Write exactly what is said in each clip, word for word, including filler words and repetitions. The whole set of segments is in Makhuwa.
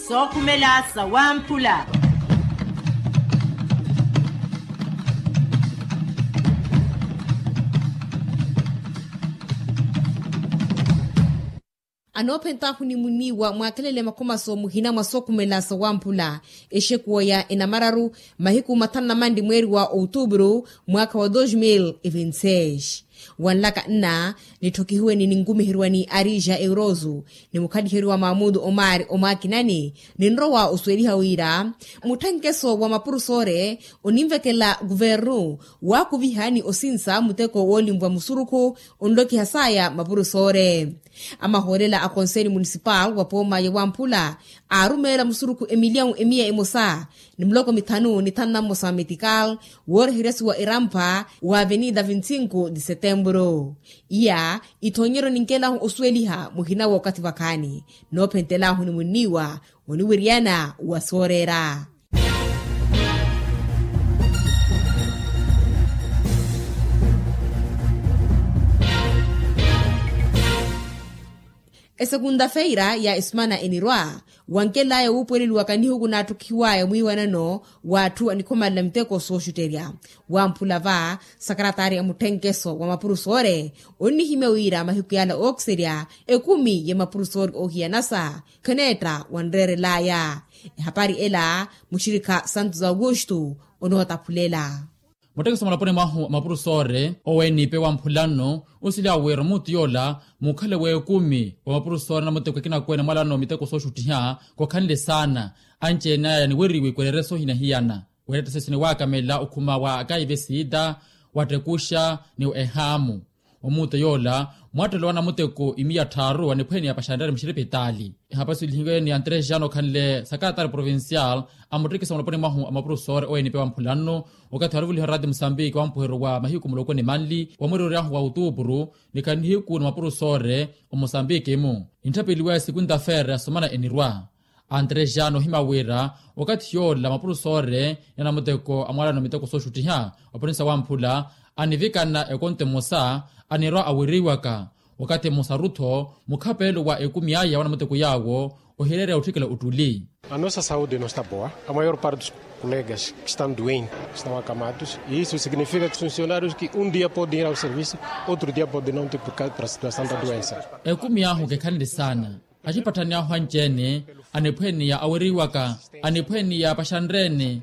Sookhumela sawamphula. Anoophentaahu ni muniiwa mwaakelele makhomaso muhina mwa sookhumela sawamphula. Exekuwa ya enamararu mahiku mathanu na manli mweeri wa outubru mwaakha wa dos mil e vinti seis. Wanlaka nna nitthokihiwe ni ninkumiherwa ni arija eurosu ni mukhaliheriwa maamutu omari omwakinani. Ninrowa osuweliha wira mutthenkeso wa mapurusoore oninvekela kuvernu waakuviha ni osinsa muteko woolinvwa musurukhu onlokiha saya mapurusoore. Amahoolela a konseli munisipal wa pooma ya wamphula aarumeela musurukhu emilyawu emiya emosa ni miloko mithanu ni thanu na mmosa metikal wooreheryasiwa erampha wa avenida vinti sinku de setembro. Iya ithoonyeryo ninkelahu osuweliha muhina w'okathi vakhaani noophentelahu ni munniiwa oniwiryana wa sooreera. Esekunta-feira ya esumana enirwa wankelaya wuupuweleliwaka nihiku naatthukihiwaya mwiiwanano w'atthu anikhomalela miteko sooxutterya. Wamphula va sakaratari a mutthenkeso wa mapurusoore onnihimya wira mahiku yala ookiserya ekumi ya mapurusoore oohiyanasa kheneetta wanreerelaya. Ehapari ela muxirikha santos augusto onootaphulela. Muttekesa mulaponi mwahu a mapurusoore oweenipe wa mphula nno osila wira omuutu yoola mukhale w'ekumi wa mapurusoore na mutteko akinakwene mwalano miteko sooxuttiha khokhanle saana. Anci-ene aya niweriwe ikwerere soohina hiyana weeretta sesini waakamela okhuma wa akaive siita wattekuxa ni ehaamu. Omuutu yoola mwattelo wa namutteko imiya tthaaru aniphwene ya paxanrere muxiripitaali. Ehapari suwelihiwe ni antres jano okhanle sakaratari provincial a muttekesa mulaponi mwahu a mapurusoore oweenipe wa mphula nno. Okathi waluvuliha oraati musambiki wa mpuhero wa mahiku muloko ni manli wa mweeri oryahu wa outupuru ni khali nihiku ni mapurusoore omusambiki-mu nitthapeliwaya sekunta-feira ya sumana enirwa. Antres jano ohima wira okathi yoola mapurusoore ya namutteko amwalano miteko sooxuttiha wa provinsa wamphula anivikana ekonto emosa anirwa aweriwaka. Wakathi mmosaru-tho mukhapeelo wa ekumi aya wa namutteko yaawo ohireerya otthikela ottuli. A nossa saúde no está boa a maior parte dos colegas que estão doentes estão acamados e isso significa que os funcionários que um dia podem ir ao serviço outro dia podem não ter por causa da situação da doença. Ekumi ahu kekhanle saana axipatthani ahu anci-ene aniphwene ya aweriwaka aniphwene ya paxanrene.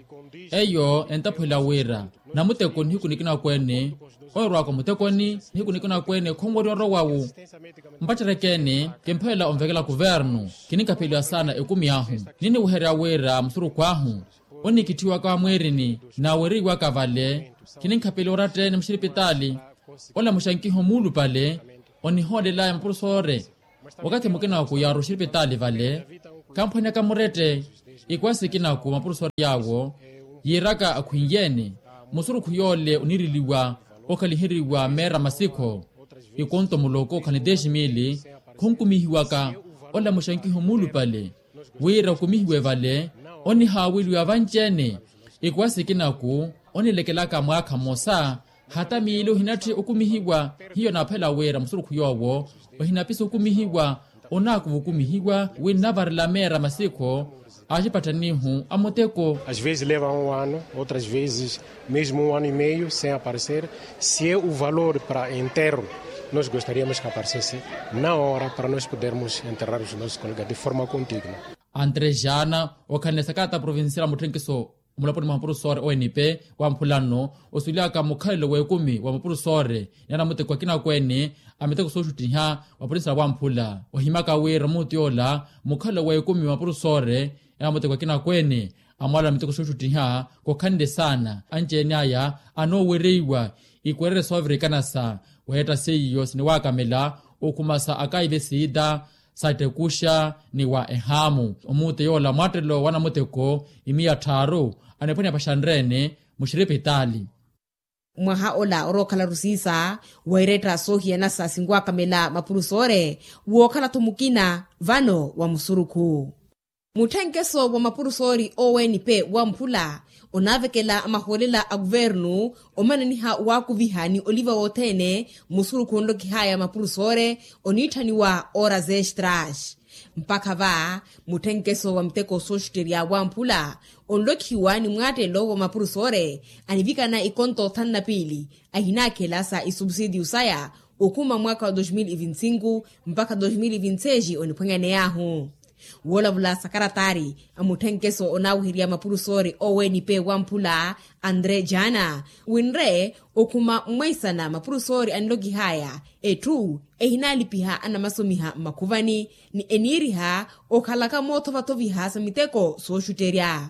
Eyo entaphwela wira namutteko nihiku nikinakwene owerwaka omutekoni nihiku nikinakwene khonwerya orowawu. Mpatterekene kimphelela onvekela kuvernu kininkapheliwa saana ekumi ahu niniweherya wira musurukhu ahu onikitthiwaka mwiirini naweriwaka vale kininkhapeliwa oratteni muxiripitaali. Ola muxankiho muulupale onihoolelaya mapurusoore wakathi mukinaku yaaru oxiripitaali vale. Kamphwanyaka murette ikuwa sikinaku mapurusoore yaawo yiiraka akhwinyeene musurukhu yoole oniriliwa okhaliheriwa meera masikho ikonto muloko khani dez mili khonkumihiwaka. Ola muxankiho muulupale wira okumihiwe vale onihaaweliwa vanci-ene ikuwa sikinaku onilekelaka mwaakha mmosa hata miili ohinatthi okumihiwa. Hiyo naaphela wira musurukhu yoowo ohinapisa okumihiwa onaakuva okumihiwa wi nnavarela meera masikho axipatthanihu a muteko. Às vezes leva um ano outras vezes mesmo um ano e meio sem aparecer. Se é o valor para enterro nós gostaríamos que aparecesse na hora para nós podermos enterrar os nossos colegas de forma condigna. Antres jana okhanle sakaata provincial mutthenkiso omulaponi mwa mapurusoore owenipe wa mphula nno osuwelaka mukhalelo w'ekumi wa mapurusoore ni anamuteko akinakwene a miteko sooxuttiha wa provincial wa mphula ohimaka wira omuutu yoola mukhalelo w'ekumi wa mapurusoore ni anamuteko akinakwene amwalala miteko sooxuttiha kokhanle saana anci-ene aya anoowereiwa ikwerere soovirikanasa. Weetta seiyo siniwaakamela okhumasa akaive siita sattekuxa ni wa ehaamu omuute yoola mwattelo wa namuteko imiya tthaaru aniphwanya paxanreene muxiripitaali. Mwaha ola orookhala rusiisa weeretta soohiyanasa sinwaakamela mapurusoore wookhala-tho mukina vano wa musurukhu. Mutthenkeso wa mapurusoori owenipe wa mphula onaavekela amahoolela a kuvernu omananiha waakuviha ni oliva wothene musurukhu onlokihaya mapurusoore oniitthaniwa horas extras. Mpakha va mutthenkeso wa miteko sooxutterya wamphula onlokhiwa ni mwaattelo wa mapurusoore anivikana ikonto thanu na piili ahinaakhela sa isubsidiyu saya okhuma mwaakha wa dos mil e vinti sinku mpakha dos mil e vinti seis oniphwanyaney'ahu. Woolavula sakaratari a mutthenkeso onaaweherya mapurusoore owenipee wamphula andre jana winre okhuma mmweisana mapurusoori anlokihaya etthu ehinaalipiha anamasomiha mmakhuvani ni eniiriha okhalaka moothovathoviha sa miteko sooxutterya.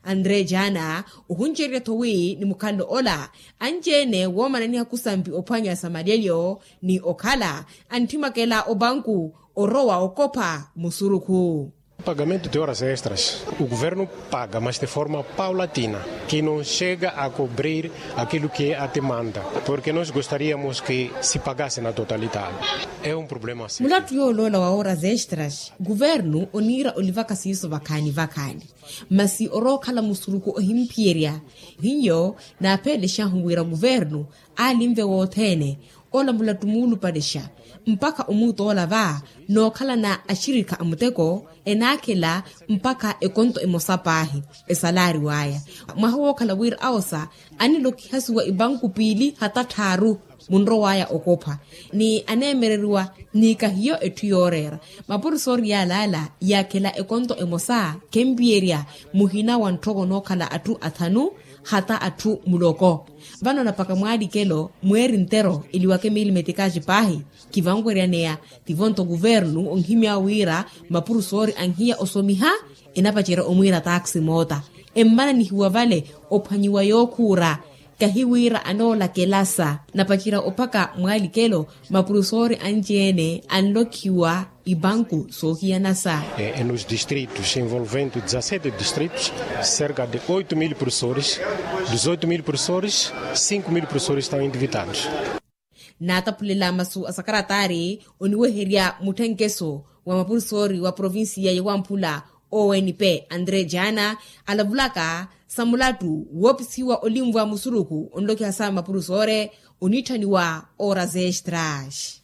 Andre jana ohuncererya-tho wi ni mukhalelo ola anci-ene woomananiha kusampi ophwanya sa malyelyo ni okhala antthimwakela opanku orowa okopha musurukhu. Pagamento de horas extras o governo paga mas de forma paulatina que no chega a cobrir aquilo que a demanda porque nos gostaríamos que se pagase na totalidade. É um problema. Mulattu yooloola wa horas extras guvernu oniira olivaka siiso vakhaani vakhaani masi orookhala musuruku ohimphiyerya. Hiyo naapheelexahu wira guvernu aalinve wothene ola mulattu muulupalexa mpakha omuutoola va nookhalana axirikha a muteko enaakhela mpakha ekonto emosa paahi esalaariw'aya. Mwaha wookhala wira awosa anilokihasiwa ipanku piili hata tthaaru munrow'aya okopha ni aneemereriwa ni kahiyo etthu yooreera mapurusoori yaalaala yaakhela ekonto emosa khempiyerya muhina wa ntthoko nookhala atthu athanu hata atthu muloko. Vano napaka mwaalikelo mweeri ntero eliwake miili metikaaci paahi kivanweryaneya tivo-nto kuvernu onhimy'awe wira mapurusoori anhiya osomiha enapacerya omwiira taaksi moota emmananihiwa vale ophwanyiwa yookhuura. Kahi wira anoolakelasa napacerya ophaka mwaalikelo mapurusoori anci-ene anlokhiwa ipanku soohiyanasa. Nos distritos envolvendo dezasete distritos cerca de oito mil professores, dezoito mil professores, cinco mil professores estão endividados. Naataphulela masu a sakaratari oniweherya mutthenkeso wa mapurusoori wa provincia ya wamphula onp andre jana alavulaka sa mulattu woopisihiwa olinvwa musuruku onlokiha sa mapurusoore oniitthaniwa horas extras.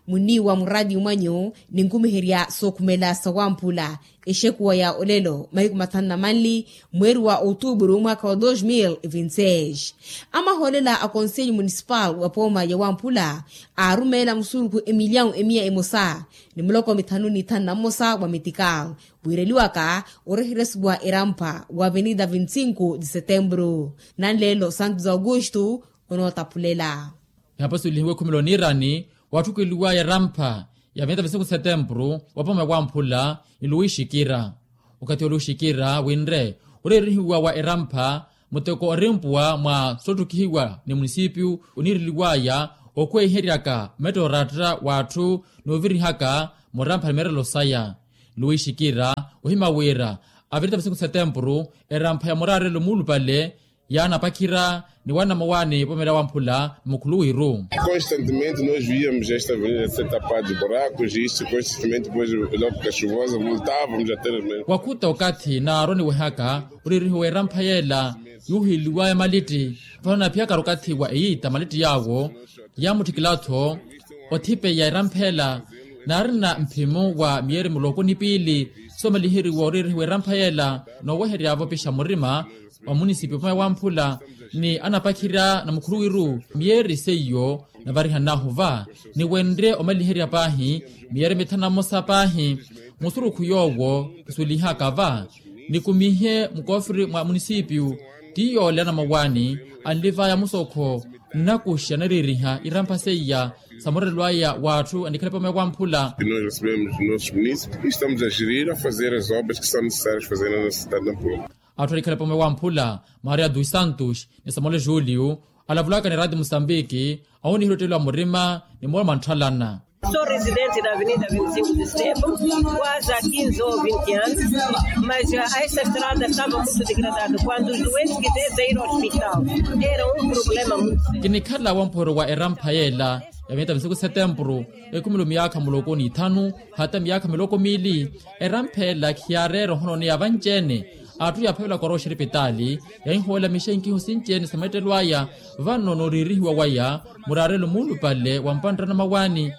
Munniiwa muraatiyo mwanyu ninkumiherya sookhumela sawamphula exekuwa ya olelo mahiku mathanu na manli mweeri wa otuupuru mwaakha wa dos mil e vinti seis. Amahoolela a konsellu munisipal wa pooma ya wamphula aarumeela musurukhu emilyawu emiya emosa ni muloko mithanu ni thanu na mmosa wa metikal wiireliwaka oreheresiwa erampha wa avenida vinti sinku de setembru. Nanleelo santos augusto onootaphulela. Ihapo sulihiwe khumela oniirani waatthukeliwaya erampha ya venta vesiku setempuru wa pooma wamphula ni luwixikira. Okathi oluwixikira winre oreerihiwa wa erampha muteko orimpuwa mwa sotthukihiwa ni munisipiyu oniireliwaya okhweiheryaka metto oratta w'atthu n'ovirihaka murampha ni meerelo saya. Luwixikira ohima wira avirita vesiku setempuru erampha ya muraarelo muulupale yaanapakhira ni wanamawaani pomela wamphula mmukhuluwiru. Constantemente nós víamos esta avenida ser tapada de buracos e isto constantemente depois logo que chuvosa voltávamos a ter. Wakhuta okathi naaroniwehaka oreerihiwa erampha yeela yuuhiliwaya malitti vano naphiyakari okathi wa eyiita malitti yaawo yaamutthikila-tho othipeya eramphela naarina mphimu wa miyeeri muloko ni piili soomaliheriwa oreerihiwa erampha yeela nooweheryavo opixa murima wa munisipi opamaya wamphula ni anapakhirya na mukhuluwiru miyeeri seiyo navarihanahu va ni wenre omaliherya paahi miyeeri mithanu na mmosa paahi musurukhu yoowo khusulihaka va nikumihe mukoofiri mwa munisipiyu ti yoole anamawaani anlivaya musokho nnakuxa nareeriha irampha seiya sa murelwaya w'atthu anikhala epomwe wamphula. Nós recebemos os nossos munícipes e estamos a gerir a fazer as obras que são necessárias fazer na nossa cidade de nampula. Atthu anikhala epomwe wamphula maria dos santos ni samuel julio alavulaka ni rati musambiki awoniherya ottelo a murima ni mooma ntthalana. Sou residente da avenida vinte e cinco de setembro quase há quinze ou vinte anos mas a essa estrada estava muito degradada quando os doentes que vêm sair ao hospital era um problema muito sério. Kinikhala wamphwero wa erampha yeela ya miyata misiku setempuru ekhumelo miyaakha muloko ni ithanu hata miyaakha miloko miili erampha ela khiyaareera ohononeya vanci-ene. Atthu yaaphavelaka orowa oxiripitaali yahihoolamixa inkihu sinci-ene sa meettelo aya vano nooriirihiwa waya muraarelo muulupale wa mpantta na mawaani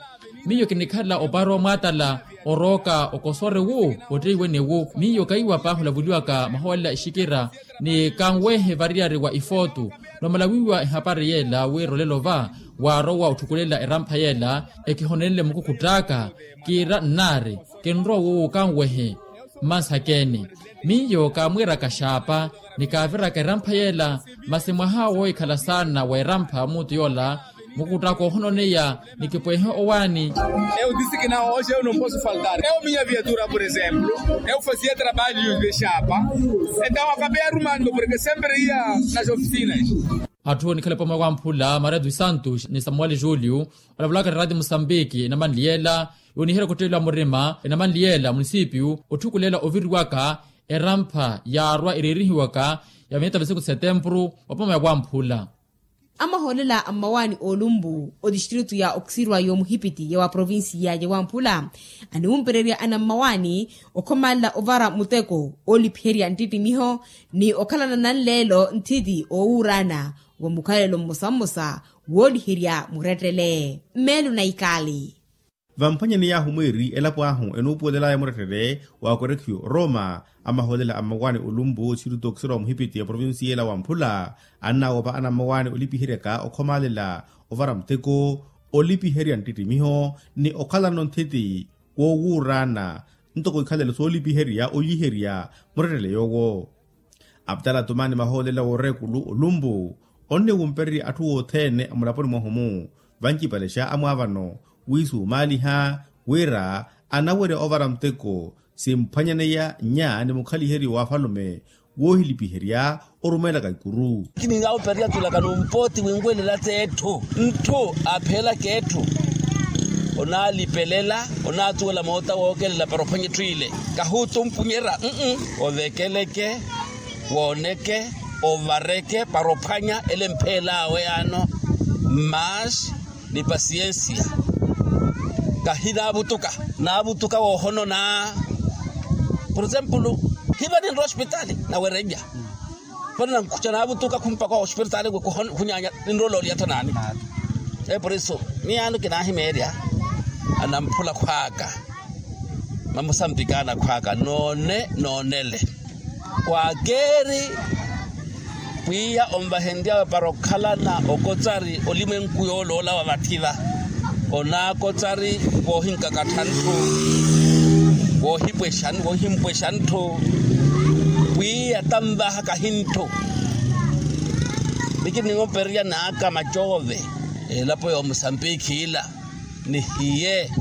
Miyo kinikhala opaari omwaatala orooka okosore wu otteiwene wu. Miyo kaiwa paahi olavuliwaka mahoolela exikira ni kanwehe variyari wa ifootu. Nomala wiiwa ehapari yeela wira olelo va waarowa otthukulela erampha yeela ekihonenle mukukhut'aka. Kiira nnaari kinrowa wo kanwehe mmansakeni. Miyo kaamwiiraka xaapa ni kaaviraka erampha yeela. Masi mwaha woohikhala saana wa erampha muutu yoola mukuttaka ohononeya ni kipwehe owaani. Eu disse que não hoje eu não posso faltar eu minha viatura por exemplo eu fazia trabalho de chapa. Então acabei arrumando porque sempre ia nas oficinas. Atthu onikhale pamwe wamphula maria dos santos ni samuel julio olavulaka ni radio mosambiki enamanli yeela yooniherya okutteeliwa murima enamanli yeela munisipiyu otthukulela oviriwaka erampha yaarwa ereerihiwaka ya miyata visiku setempuru wapamaya wamphula. Amahoolela a mmawaani oolumpu otistritu ya okisirwa y'omuhipiti ya wa provincia ya wamphula aniwumpererya anammawaani okhomalela ovara muteko oolipiherya nttittimiho ni okhalana nanleelo nthiti oowuuraana wa mukhalelo mmosa mmosa wooliherya murettele mmeelo na ikaali. Vamphwanyaney'ahu mwiiri elapo ahu enuupuwelel'aya murettele wa korekhiyo roma. Amahoolela a mmawaani olumpu siruto okisirwa muhipiti ya provincia ela wamphula annaawopa anammawaani olipiheryaka okhomalela ovara muteko olipiherya nttitimiho ni okhalano nthiti woowuuraana ntoko ikhalelo soolipiherya oliherya murettele yoowo. Aptala tumani mahoolela woorekulu olumpu onniwumpererya atthu othene amulaponi mwahu-mu vancipalexa amwaavano wiisumaaliha wira anawerya ovara muteko simphwanyaneya nnya ni mukhaliheryo w'afalume woohilipiherya orumeelaka ikuru. Kiningaawupererya tulaka numpooti winwelela t'etthu ntthu apheelaka etthu onaalipelela onaatuwela moota wookelela para ophwanya etthu ile kahuutumpunyerya. Ovekeleke wooneke ovareke para ophwanya ele mpheel'awe yaano mas ni pasiensia. Kahi naavutuka naavutuka woohonona. Por exemplo hiva ninrowa ospitali nawerennya vano nankhucha naavutuka khumpaka ospitali khunyaanya ninrowa ololiya thanani. Por eso miyaano kinaahimeerya anamphula khw'aka mamusambikana khw'aka noone noonele. Kwaakeeri pwiya onvahenryawe para okhalana okotsari olimwenku yooloola wa vathi va onaakotsari voohinkakattha ntthu voohipwexa voohimpwexa ntthu pwiya tanvaha kahi ntthu. Mikiri ninwompererya naaka macoove elapo ya omusambikhi ila nihiye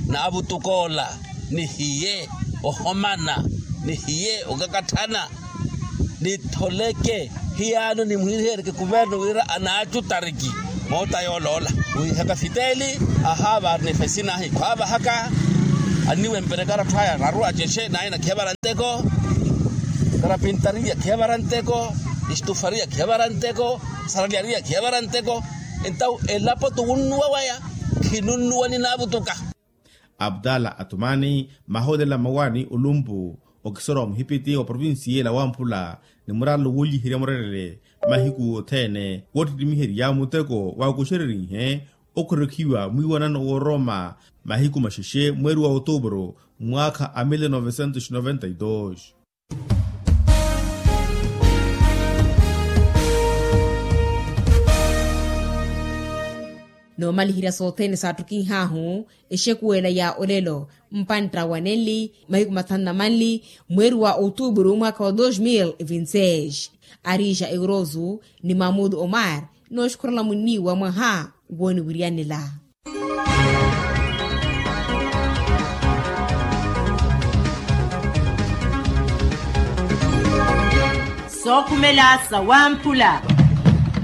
naavutukoola nihiye ohomana nihiye okakatthana nitholeke hiyaano nimuhihereke kuverno wira anaacutariki moota yooloola wihaka fiteli ahaava ari nifesi nahi khwaavahaka anniwempereka aratthu aya raru acexe naye nakhevara nteko karapintariya khevara nteko istufariya khevara nteko saraliariya khevara nteko entawu elapo tuwunnuwa waya khinunnuwa ninaavutuka. Abdala atumani mahoolela mmawaani olumpu okisoro wa muhipiti wa provincia ela wamphula ni muralelo wooliherya murerele mahiku othene woottittimiherya muteko waakuxererihe okhorokhiwa mwiiwanano wooroma mahiku maxexe mweeri wa otuburu mwaakha a mille novecentos noventa y dos. Noomaliherya sothene saattukinhahu exekuwela ya olelo mpantta wa nenli mahiku mathanu na manli mweeri wa otuburu mwaakha wa dos mil vinti seis. Arija euroso ni mahmudu omar nooxukhurela munniiwa mwaha wooniwiryanela. Sookhumela sawamphula.